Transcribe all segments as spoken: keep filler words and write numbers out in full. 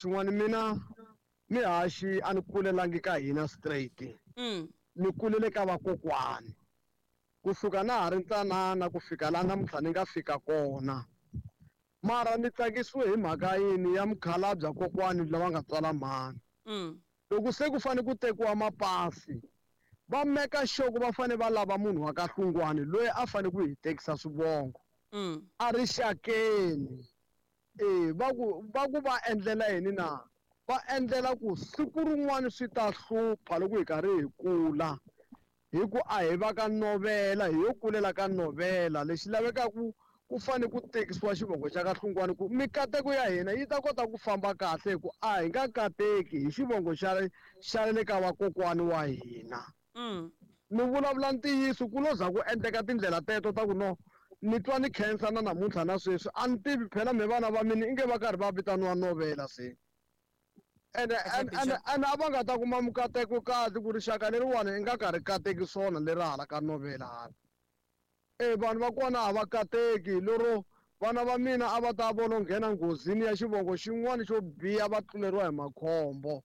Xin'wana mina ni haxi a ni kulelangi ka hina straight. Mm. Ni kulele ka vakokwani. Kusuka na ha ri ntsanana ku fika laha namuntlha ni nga fika kona. Mara ni tsakisiwe hi mhaka yini ya mukhalabye kokwani lava nga tswala mhani. Mm. Loko se ku fanele ku tekiwa mapasi, va meka sure ku va fanele va lava munhu wa ka Hlungwani loyi a fanele ku hi tekisa swivongo. Mm. A ri xakeni. E, va ku, va ku va endlela yini na? Va endlela ku siku rin'wana swi ta hlupha loko hi karhi hi kula. Hi ku a hi va ka novela, hi yo kulela ka novela. Lexi lavekaka ku fanele ku tekisiwa xivongo xa ka Hlungwani ku mikateko ya hina yi ta kota ku famba kahle hi ku a hi nga kateki hi xivongo xa, xa le ka vakokwani wa hina. Mm. Ni vulavula ntiyiso ku lo za ku endleka tindlela teto ta ku no ni twa ni khensa na namuntlha na sweswi a ni tivi phela me vana va mina inge va karhi va vitaniwa novela se. Ene, Kahle, ene, ene, Bishop. ene a va nga ta kuma mikateko kahle ku rixaka leriwani i nga ka ri kateki swona leri hala ka novela hala. E vanhu va kona a va kateki lero vana va mina a va ta vona nghena nghozini ya xivongo xin'wana xo biha va tluleriwa hi makhombo.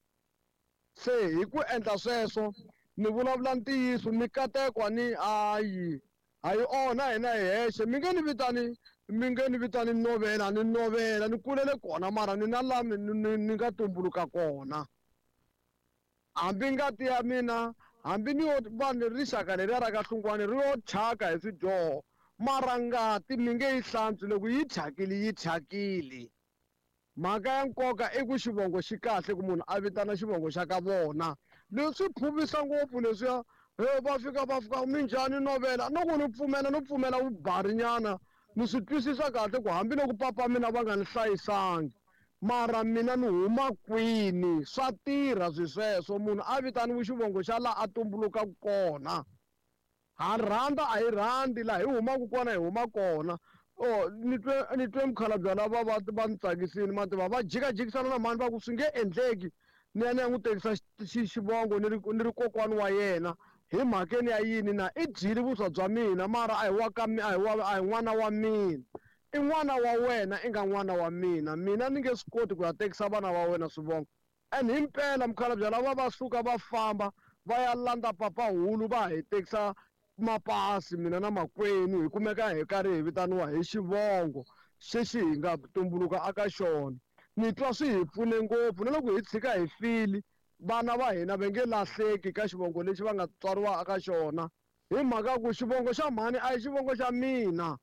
Se hi ku endla sweswo ni vulavula ntiyiso mikateko ni ayi a yi onha hina hi hexe mi nge ni vitani mi nge ni vitani novela ni novela ni kulele kona mara ni na laha ni, ni, ni nga tumbuluka kona. Hambi ngati ya mina hambi ni yo vanhu rixaka leriya ra ka Hlungwani ri yo thyaka hi swidyoho mara ngati mi nge yi hlantswi loko yi thyakile yi thyakile. Mhaka ya nkoka i ku xivongo xi kahle ku munhu a vitana xivongo xa ka vona. Leswi phuvisa ngopfu leswiya he va fika va fika minjhani novela no ku ni pfumela no pfumela vubarinyana ni swi twisisa kahle ku hambiloko papa mina va nga ni hlayisangi mara mina ni huma kwini swa tirha swi sweswo munhu a vitaniwe xivongo xa laha a tumbulukaka kona. Ha rhandza a hi rhandzi laha hi humaka kona hi huma kona. Oh, ni twe, ni twe mukhalabye lava va, va ni tsakisile ma tiva va jikajikisana na mhani va ku swi nge endleki ni ya ni ya n'wi tekisa xi, xi, xivongo ni ri, ni ri kokwani wa yena hi mhakeni ya yini na i dyile vuswa bya mina mara a hi wa ka mi, a hi wa, a hi n'wana wa mina. I n'wana wa wena i nga n'wana wa mina mina ni nge swi koti ku ya tekisa vana va wena swivongo. And himpela mukhalabye lava va suka va famba va ya landza papahulu va hi tekisa mapasi mina na makwenu hi kumeka hi karhi hi vitaniwa hi xivongo xexi hi nga tumbuluka aka xona. Ni twa swi hi pfune ngopfu na loko hi tshika hi file vana va hina va nge lahleki ka xivongo lexi va nga tswariwa aka xona hi mhaka ku xivongo xa mhani a hi xivongo xa mina.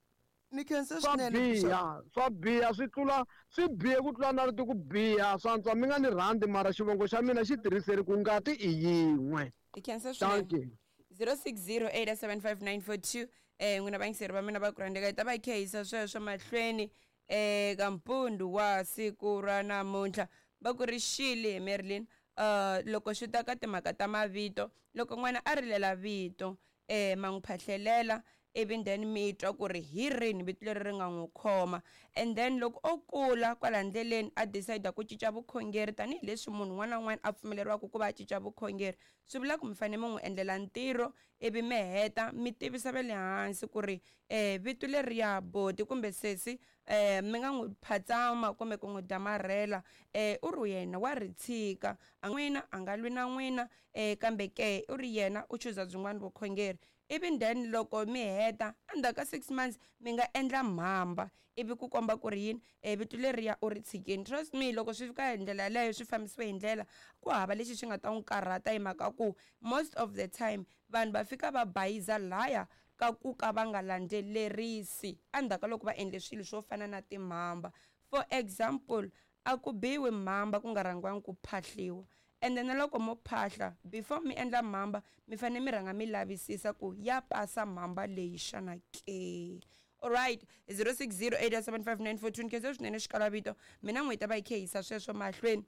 Ni khensa Swa swinene, Bishop. biha, swa biha, swi tlula, swi bihe ku tlula na rito ku biha, swa antswa mi nga ni rhandzi mara xivongo xa mina xi tirhiseri ku ngati i yin'we. Ni khensa Thank swinene. you. zero six zero eight seven five nine four two. Eh, n'wina vayingiseri va mina va ku rhandzeka hi ta va hi khehisa sweswo mahlweni eh, ka mpundu wa siku ra namuntlha. Va ku ri xile hi Marilyn. Uh, loko swi ta ka timhaka ta mavito, loko n'wana a rilela vito, eh, ma n'wi phahlelela, ivi then mi twa ku ri hi rini vito leri ri nga n'wi khoma. And then loko o kula kwala ndleleni a decide ku cinca vukhongeri tanihileswi munhu un'wana na un'wana a pfumeleriwaka ku va a cinca vukhongeri, swi vula ku mi fanele mi n'wi endlela ntirho ivi mi heta mi tivisa va le hansi ku ri, eh, vito leriya boti kumbe sesi, eh, mi nga n'wi phatsama kumbe ku n'wi damarhela, eh, u ri yena wa ri tshika, a n'wina a nga lwi na n'wina, eh, kambe ke u ri yena u chuza byin'wana vukhongeri. Ivi then loko mi heta endzhaku ka six months mi nga endla mhamba ivi ku komba ku ri yini, eh, vito leriya u ri tshikini. Trust me, loko swi fika hi ndlela yaleyo swi fambisiwe hi ndlela ku hava lexi xi nga ta n'wi karhata hi mhaka ku most of the time vanhu va fika va bayiza laya ka ku ka va nga landzelerisi endzhaku ka loko va endle swilo swo fana na timhamba. For example, a ku biwi mhamba ku nga rhangiwangi ku phahliwa. Ende na loko mo phahla before mi endla mhamba mi fanele mi rhanga mi lavisisa ku ya pasa mhamba leyi xana ke. Alright, zero six zero eight seven five nine four two. Ni khensa swinene xikalavito mina n'wi ta va hi khehisa sweswo mahlweni.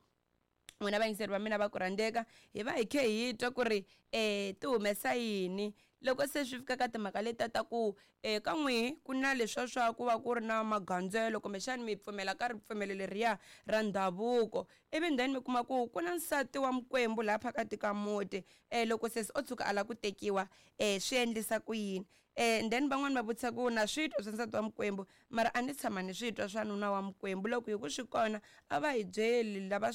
N'wina vayingiseri va mina va ku rhandzeka, hi va hi khe hi twa ku ri um ti humesa yini loko se swi fika ka timhaka letiya ta ku um ka n'wihi ku na leswiya swa ku va ku ri na magandzelo, kumbexani mi pfumela ka ripfumelo leriya ra ndhavuko, ivi then mi kuma ku ku na nsati wa mikwembu laha phakati ka muti, um loko sesi o tshuka a lava ku tekiwa um swi endlisa ku yini? um then van'wani va vutisa ku na swi twa swa nsati wa mikwembu, mara a ni tshama ni swi twa swa nuna wa mikwembu. Loko hi ku swi kona a va hi byeli lava swi.